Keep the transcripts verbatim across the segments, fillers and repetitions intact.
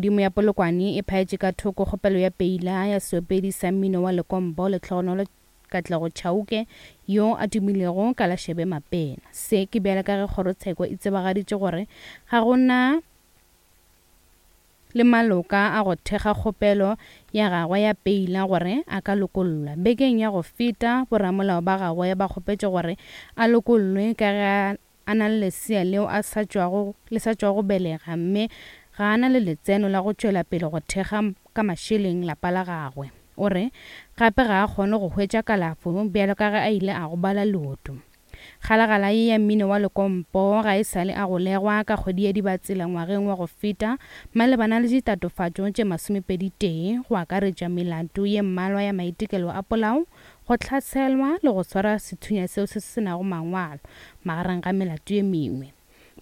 Godimo ya Polokwane e phaetše ka thoko kgopelo ya peila ya seopedi sa mmino wa Lekompo Lehlogonolo Katlego Chauke yo a tumilego ka la Shebe Mapena. Se ke bjale ka ge kgorotsheko e tsebagaditše gore ga go na le maloka a go thekga kgopelo ya gagwe ya peila gore a ka lokollwa. Bekeng ya go feta boramolao ba gagwe ba kgopetše gore a lokollwe ka ge a na le lesea leo a sa tšwago le sa tšwago belega mme ga a na le letseno la go tšwela pele go thekga ka mašeleng lapa la gagwe. O re gape ga a kgone go hwetša kalafo bjalo ka ge a ile a gobala leoto. Kgalagala ye ya mmino wa Lekompo ga e sale a golegwa ka kgwedi ya Dibatsela ngwageng wa go feta malebana le ditatofatšo tše masomepedi tee go akaretša melato ye mmalwa ya maitekelo a polao, go hlaselwa le go swara sethunya seo se se nago mangwalo magareng ga melato ye mengwe.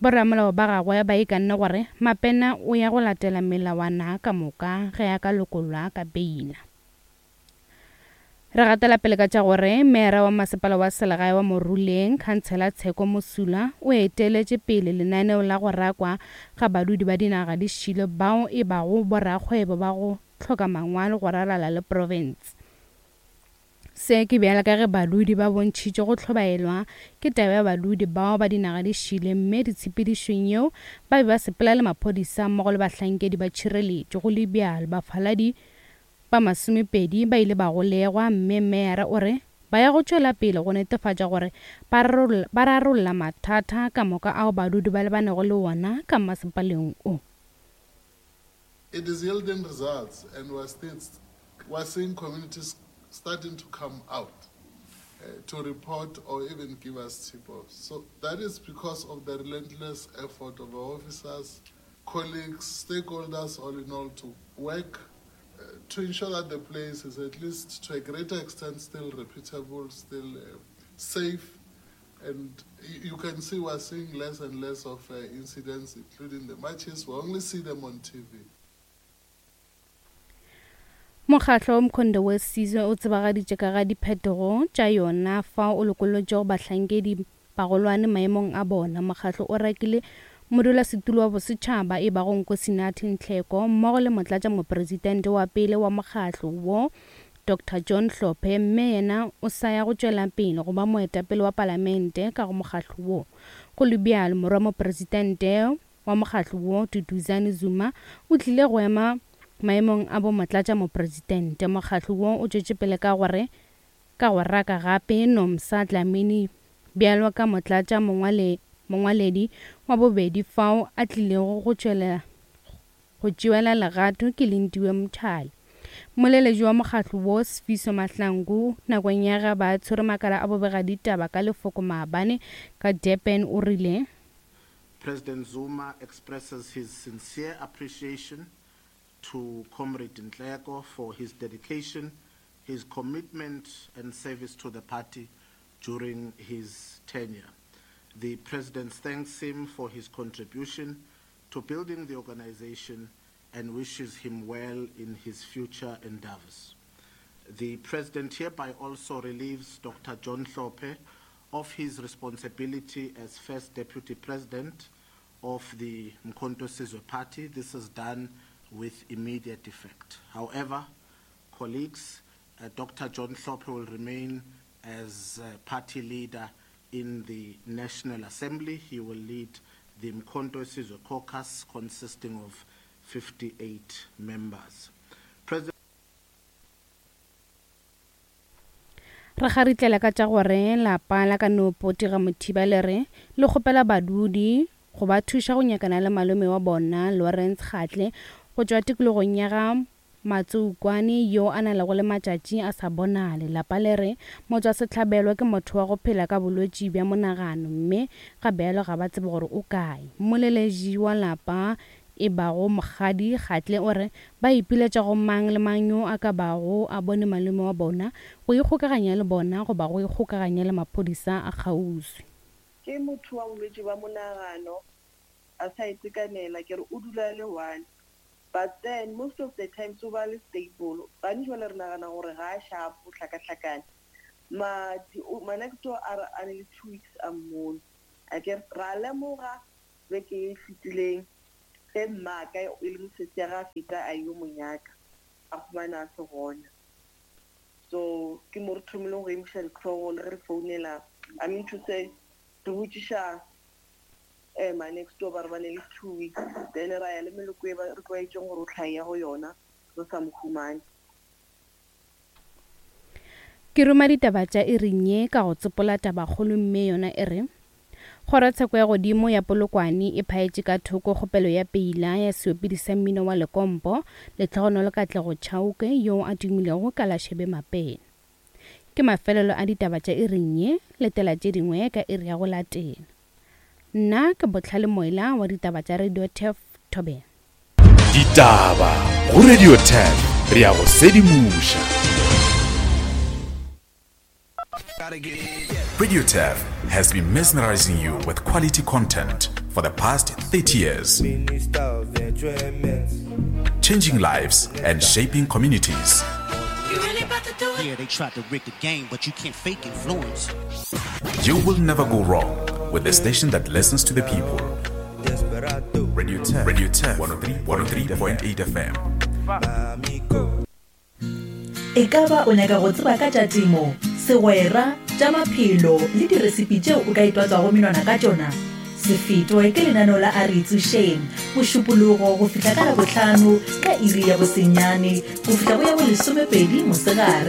Boramolao ba gagwe ba ikanne gore Mapena o ya go latela melawana ka moka ge a ka lokollwa ka beila. Re gatela pele ka tša gore meera wa masepala wa selegae wa Moruleng, Khansela Tsheko Mosula, o eteletše pele lenaneo la go rakwa ga badudi ba dinaga di šile bao e bago borakgwebo ba go hloka mangwalo go ralala le profense. Se ke bjale ka ge badudi ba bontšhitše go hlobaelwa ke taba ya badudi bao ba dinaga di šile mme ditshepedišong yeo ba be ba sepela le maphodisa mmogo le bahlankedi ba tšhireletšo. Go le bjalo bafaladi ba masomepedi ba ile ba golegwa mme meyara o re ba ya go tšwela pele go netefatša gore ba rarolla mathata ka moka ao badudi ba lebanego le wona ka masepaleng o. It is yielding results, and we're still we're seeing communities starting to come out uh, to report or even give us tip-offs. So that is because of the relentless effort of our officers, colleagues, stakeholders, all in all, to work uh, to ensure that the place is at least to a greater extent still reputable, still uh, safe. And you can see we're seeing less and less of uh, incidents, including the matches. We only see them on T V. Mokgatlo Umkhonto we Sizwe o tsebagaditše ka ga diphetogo tša yona fao o lokollotšego bahlankedi bagolwane maemong a bona. Mokgatlo o rakile modulasetulo wa bosetšhaba e bago Nkosinathi Nhleko mmogo le motlatša mopresidente wa pele wa mokgatlo wo Doctor John Hlophe, mme yena o sa ya go tšwela pele go ba moetapele wa palamente ka go mokgatlo wo. Go le bjalo morwa mopresidente wa mokgatlo wo Duduzane Zuma o tlile go ema maemong a bo motlatša mopresidente. Mokgatlo wo o tšwetše pele ka gore ka go raka gape Nomsa Dlamini bjalo ka motlatša mongwale mongwaledi wa bobedi fao a tlilego go tšwela go tšewela legato ke Lindiwe Mthali. Moleletši wa mokgatlo wo Sifiso Mahlangu nakong ya ge ba tshwere makala a bobega ditaba ka lefoko maabane ka Durban o rile President Zuma expresses his sincere appreciation to Comrade Nhleko for his dedication, his commitment and service to the party during his tenure. The President thanks him for his contribution to building the organization and wishes him well in his future endeavors. The President hereby also relieves Doctor John Hlophe of his responsibility as First Deputy President of the Umkhonto Sizwe Party. This is done with immediate effect. However, colleagues, uh, Doctor John Hlophe will remain as uh, party leader in the National Assembly. He will lead the Umkhonto Sizwe Caucus consisting of fifty-eight members. President Re garitlela ka tša gore lapa la ka no Potira Mothiba le re le kgopela badudi go ba thuša go nyakana le malome wa bona Lawrence Kgatle go tšwa tikologong ya ga Matsoukwane yo a na lego le matšatši a sa bonale. Lapa le re motswasehlabelo ke motho wa go phela ka bolwetši bja monagano mme ga bjalo ga ba tsebe gore o kae. Moleletši wa lapa e bago Mokgadi Kgatle o re ba ipiletša go mang le mang yo a ka bago a bone malome wa bona go ikgokaganya le bona goba go ikgokaganya le maphodisa a kgauswi. Ke motho wa bolwetši bja monagano a sa itekanela, ke re o dula le one. But then most of the times o ba le stable. Gantši jwale re nagana gore ga a sharp, o hlakahlakane. Ma manakto a re a ne le two weeks a mmone. A ke ra lemoga beke e fetileng Ge mmaka e leng sesi ya ga a feta a yo mo nyaka, a humana a se gona. So ke mo re thomileng go emiša ditlhogo le ge re founela, I mean to say re botšiša um ma next door ba re ba ne le two weeks, then ra ya le meloko e ba re tlwaetšeng gore o tlhae ya go yona, re sa mo humane. Ke ruma ditaba tša iring ye ka go tsopola tabakgolo mme yona e re Kgorotsheko ya godimo ya Polokwane e phaetše ka thoko kgopelo ya peila ya seopedi sa mmino wa lekompo Lehlogonolo Katlego Chauke yo a tumilego ka la Shebe Mapena. Ke mafelelo a ditaba tša iring ye, letela tše dingwe ka iri ya go latela. Nna ke Bohlale Moila wa ditaba tša Radio Turf Thobela. Ditaba go Radio Turf, re a go sedimoša. Radio Turf has been mesmerizing you with quality content for the past thirty years. Changing lives and shaping communities. Yeah, they tried to rig the game, but you can't fake influence. You will never go wrong with the station that listens to the people. Radio Turf, Radio Turf, one oh three point eight F M. E ka ba o nyaka go tseba ka tša temo, segwera, tša maphelo le diresipi tšeo o ka itwatswago menwana ka tšona? Se fetwe ke lenaneo la A Re Itsošeng, Mošupologo go fihla ka Labohlano ka iri ya bosenyane go fihla go ya bolesomepedi mosegare.